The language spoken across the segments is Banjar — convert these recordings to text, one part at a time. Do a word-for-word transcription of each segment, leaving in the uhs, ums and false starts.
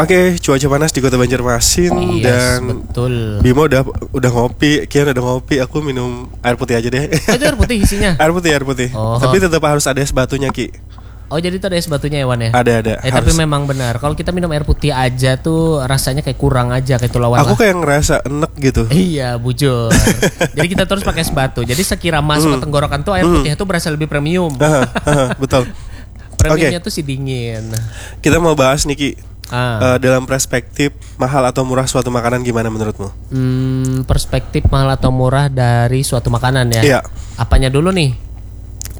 Oke, cuaca panas di Kota Banjarmasin. Yes, Dan betul. Bima udah udah ngopi, Kian udah ngopi, aku minum air putih aja deh. Oh, itu air putih isinya? Air putih, air putih. Oh. Tapi tetap harus ada es batunya, Ki. Oh, jadi itu ada es batunya ya, Wan, ya? Ada, ada. Eh, tapi Harus. Memang benar. Kalau kita minum air putih aja tuh rasanya kayak kurang aja, kayak tulawan Aku lah. Kayak ngerasa enek gitu. Iya, bujur. Jadi kita terus pakai es batu. Jadi sekira masuk ke tenggorokan tuh air putih itu berasa lebih premium. Haha, haha, betul. Premiumnya tuh si dingin. Kita mau bahas nih, Ki. Ah. Eh, dalam perspektif mahal atau murah suatu makanan, gimana menurutmu? Hmm, perspektif mahal atau murah dari suatu makanan ya. Iya. Apanya dulu nih?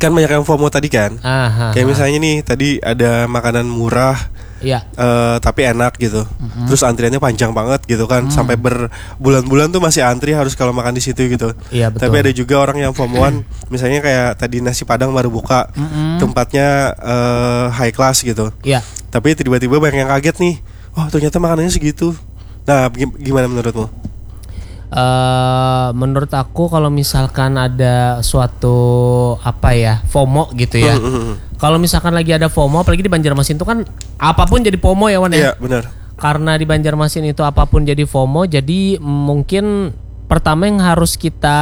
Kan banyak yang FOMO tadi kan. Aha. Kayak misalnya nih, tadi ada makanan murah, Iya. eh, tapi enak gitu. Terus antriannya panjang banget gitu kan, sampai berbulan-bulan tuh masih antri harus kalau makan di situ gitu. Iya, betul. Tapi ada juga orang yang FOMOan, misalnya kayak tadi nasi padang baru buka, tempatnya eh, high class gitu. Iya. Tapi tiba-tiba banyak yang kaget nih, wah, ternyata makanannya segitu. Nah, gim- gimana menurutmu? Eh, menurut aku, kalau misalkan ada suatu, apa ya, FOMO gitu ya. Hmm, hmm, hmm. Kalau misalkan lagi ada FOMO, apalagi di Banjarmasin itu kan apapun jadi FOMO ya, Wan, ya. Iya, benar. Karena di Banjarmasin itu apapun jadi FOMO, jadi mungkin pertama yang harus kita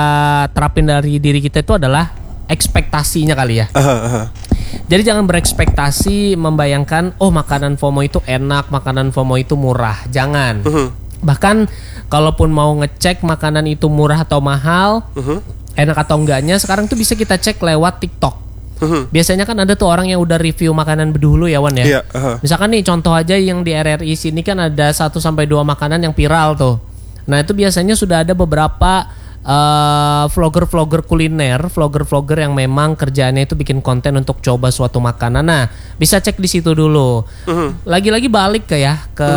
terapin dari diri kita itu adalah ekspektasinya kali ya. Aha, aha. Jadi jangan berekspektasi membayangkan, oh, makanan FOMO itu enak, makanan FOMO itu murah. Jangan. Mhm. Bahkan kalaupun mau ngecek makanan itu murah atau mahal, Mhm. enak atau enggaknya, sekarang tuh bisa kita cek lewat TikTok. Mhm. Biasanya kan ada tuh orang yang udah review makanan dulu ya, Wan, ya. Iya, aha. Misalkan nih, contoh aja, yang di R R I sini kan ada satu sampai dua makanan yang viral tuh. Nah, itu biasanya sudah ada beberapa eh, vlogger-vlogger kuliner, vlogger-vlogger yang memang kerjaannya itu bikin konten untuk coba suatu makanan. Nah, bisa cek di situ dulu. Mhm. Lagi-lagi balik ke, ya, ke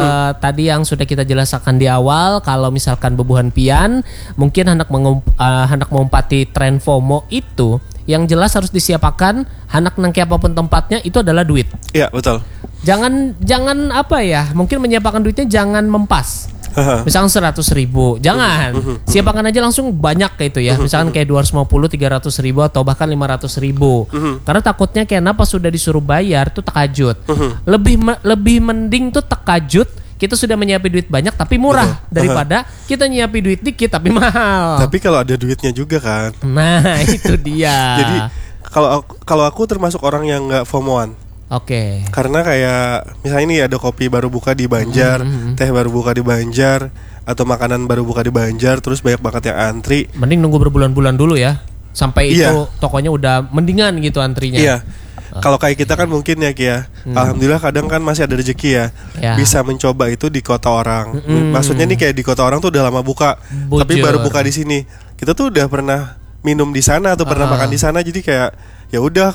tadi yang sudah kita jelaskan di awal, kalau misalkan bubuhan pian mungkin hendak mengum- eh, hendak mengumpati tren FOMO itu, yang jelas harus disiapakan, hendak nang kaya apapun tempatnya, itu adalah duit. Iya, betul. Jangan, jangan apa ya, mungkin menyiapakan duitnya jangan mempas. Haha. Misalkan seratus ribu, jangan. Mhm. Siapakan aja langsung banyak kayak itu ya. Misalkan kayak dua ratus lima puluh, tiga ratus ribu, atau bahkan lima ratus ribu. Mhm. Karena takutnya kayak kenapa sudah disuruh bayar tuh terkajut. Mhm. Lebih me- lebih mending tuh terkajut, kita sudah menyiapin duit banyak tapi murah, Betul. daripada kita nyiapin duit dikit tapi mahal. Tapi kalau ada duitnya juga kan. Nah, itu dia. Jadi kalau aku, kalau aku termasuk orang yang nggak FOMOan. Oke. Karena kayak misalnya nih, ada kopi baru buka di Banjar, Mhm. teh baru buka di Banjar, atau makanan baru buka di Banjar, terus banyak banget yang antri. Mending nunggu berbulan-bulan dulu ya, sampai Iya. itu tokonya udah mendingan gitu antrinya. Iya. Kalau kayak kita kan mungkin ya, Ki, ya. Hmm. Alhamdulillah, kadang kan masih ada rezeki ya. Ya. Bisa mencoba itu di kota orang. Mm-mm. Maksudnya nih, kayak di kota orang tuh udah lama buka, tapi Bujur. Baru buka di sini. Kita tuh udah pernah minum di sana atau pernah Ah. Makan di sana, jadi kayak ya udah,